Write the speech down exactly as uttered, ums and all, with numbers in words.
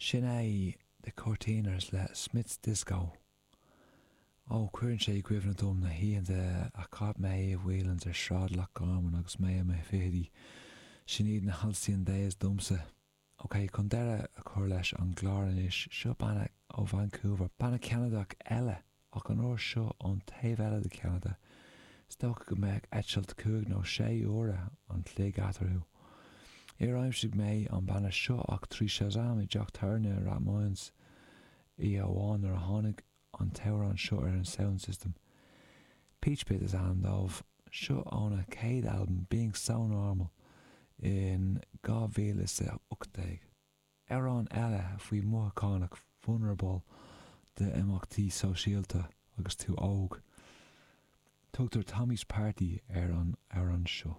Sin é The Courteeners le Smith's Disco. Ó, cuireann sé i gcuimhne dom na hoícheanta a chaith mé i Whelan's ar Sráid Loch Garman agus mé i mo fichidí. Sin iad na halcyon days domsa. Ok, chun deireadh a chur leis an gclár anois, seo banna ó Vancouver, banna Ceanadach eile ach an uair seo ón taobh eile de Cheanada. Is dócha go mbeadh eitilt cúig nó sé uaire an chloig eatarthu. Níor aimsigh mé an banna seo ach trí Shazam i dteach tábhairne Rathmines oíche amháin nuair a tháinig an t-amhrán seo ar an sound system. Peach Pit is ainm dóibh seo óna céad albam Being So Normal in dhá mhíle is a hocht déag. Amhrán eile faoi mhothúchánach vulnerable d'imeachtaí sóisialta agus tú óg. Tugtar Tommy's Party ar an amhrán seo.